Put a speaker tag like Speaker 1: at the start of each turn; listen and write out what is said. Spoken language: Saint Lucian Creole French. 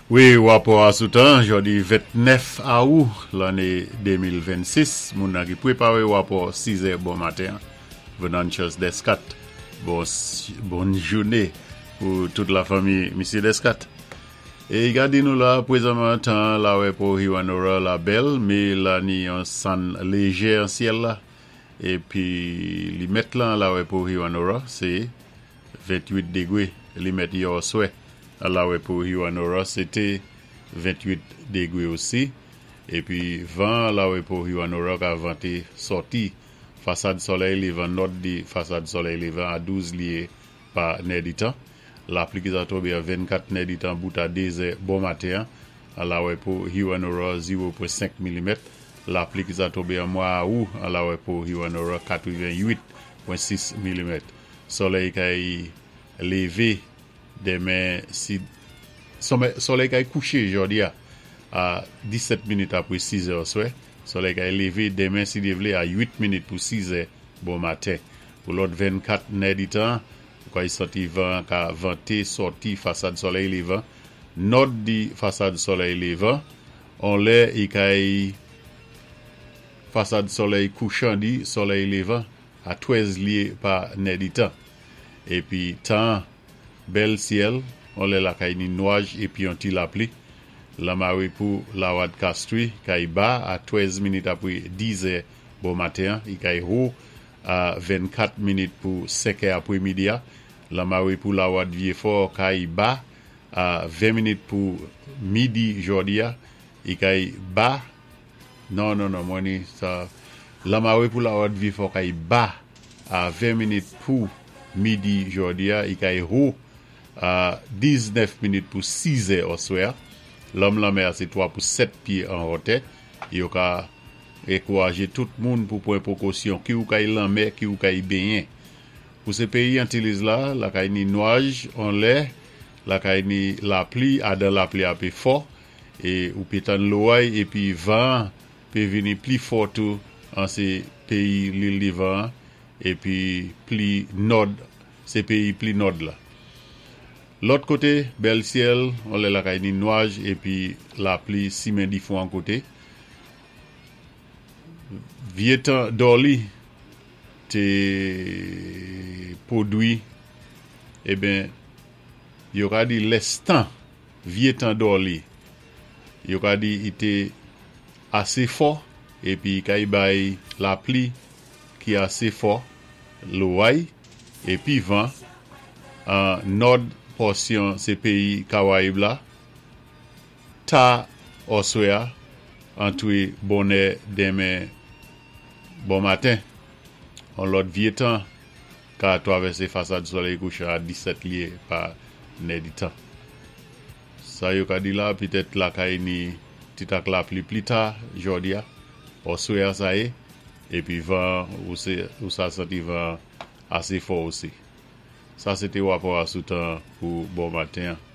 Speaker 1: Wi, wapò a sou tan, jòdi 29 awou lanné 2026, moun nan ki pwépawé wapò 6 è bon maten an, Venantius Descat. Bon, bòn jouné pou tout lafanmi Misye Descat. É i ka di nou la, pwézanman tan an lawè pou Hewanorra la bèl, mé la ni yon sann léjè an syèl la, épi limèt lan lawè pou Hewanorra sé 28 degwé limèt yè òswè lawè pou Hewanorra sé té 28 degwé osi épi van an lawè pou Hewanorra ka vanté sòti fasad sòlèy lévan nòd di fasad sòlèy lévan a 12 lyé pa nèditan. Lapli ki sa tonbé an 24 nèditan bout a 2 zè bon maten an lawè pou Hewanorra 0.5 milimèt. Lapli ki sa tonbé an mwa awou an lawè pou Hewanorra 88.6 milimèt. Sòlèy kay lévé denmen si Sòlèy kay kouché jòdi a a 17 minit apwé 6 zè òswè. Sòlèy kay lévé denmen si Dyé vlé a 8 minit pou 6 zè bon maten. Pou lòt 24 nèditan, ou kay santi van an ka vanté sòti fasad sòlèy lévan, nòd di fasad sòlèy lévan, on lè i kay fasad sòlèy kouchan di sòlèy lévan a 13 lyé pa nèditan. Épi tan an, bèl syèl, on lè lakay ni nwaj épi on ti lapli. Lanmare pou Lawad Kastri kay ba a 13 minit apwé 10 zè bon maten an, i kay ho a 24 minit pou 5 è apwé midi a. Lanmare pou Lawad Vyefò kay ba a 20 minit pou midi jòdi a, i kay ba Non non non mwen ni sa Lanmare pou Lawad Vyefò kay ba a 20 minit pou midi jòdi a, i kay ho a 19 minit pou 6 è òswè a. Lanm lanmè a sé 3 pou 7 pyé an hòtè. Yo ka enkourajé tout moun pou pwan pwokosyon ki ou kay lanmè, ki ou kay benyen. Pou sé péyi Antiliz la, lakay ni nwaj on lè, lakay ni lapli, adan lapli a pé fò, é ou pé tann loway épi van an pé vini pli fò tou an sé péyi Lil Divan an épi pli nòd sé péyi pli nòd la. Lòt koté, bèl syèl, on lè lakay ni nwaj épi lapli simen difwan koté. Vye tan Dolly té pwodwi, eben, yo ka di lès tan vye tan Dolly, yo ka di i té asé fò épi i kay bay lapli ki asé fò, loway épi van an nòd pòsyon sé péyi Kawayib la, ta òswè a antré bonnè denmen bon maten. On lòt vye tan ka twavèsé fasad solèy kouchan a 17 lye pa nèditan. Sa yo ka di la, pitèt lakay ni ti tak lapli pli ta jòdi a, òswè a sa yé, épi van an ou sa santi van an asé fò osi. Sa sé té wapò a sou tan pou bon maten an.